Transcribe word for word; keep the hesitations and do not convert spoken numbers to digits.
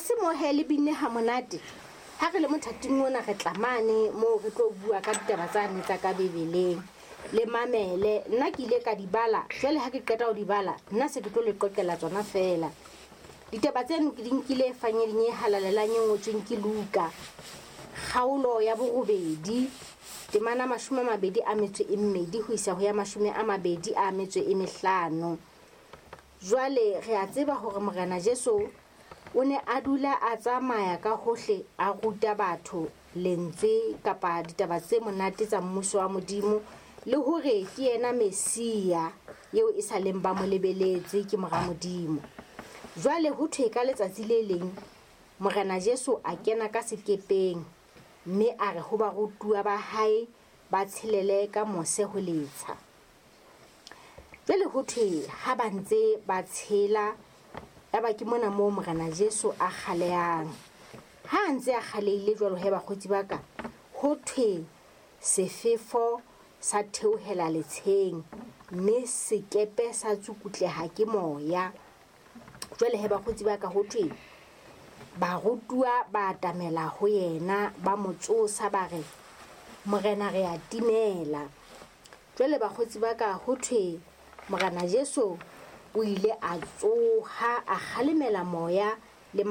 se mohe le binne ha monate. Ha re le mothating ona re tlamane moo re tlo bua ka ditaba tsane tsa ka Bibeleng. Le mamele, nna ke ile ka di bala, jwale ha ke qeta ho di bala, nna se ke tlo le qoqela tsona feela. Ditaba tseno ke di nkile fanyeding e halalelang e ngotsweng ke Luka. Kgaolo ya borobedi, temana mashome a mabedi a metso e mmedi ho isa ho ya mashome a mabedi a metso e mehlano. Jwale re a tseba hore Morena Jesu o ne a dula a tsamaya ka hohle a ruta batho lentswe kapa ditaba tse monate tsa mmuso wa Modimo, le hore ke yena Mesia eo e sa leng ba mo lebeletse ke mora Modimo. Jwale ho thwe ka letsatsi le leng Morena Jesu a kena ka sekepeng mme a re ho barutuwa ba hae ba tshelele ka mose ho letsha. Jwale ho thwe ha ba ntse ba tshela, yaba ke mona moo Morena Jesu a kgalehang. Ha a ntse a kgalehile jwalo he bakgotsi ba ka, ho thwe sefefo sa theohela letsheng mme sekepe sa tsukutleha ke moya. Jwale he bakgotsi ba ka, ho thwe barutuwa ba atamela ho yena ba mo tsosa ba re, Morena re a timela. Jwale bakgotsi ba ka, ho thwe Morena Jesu o ile a tsoha a kgalemela moya le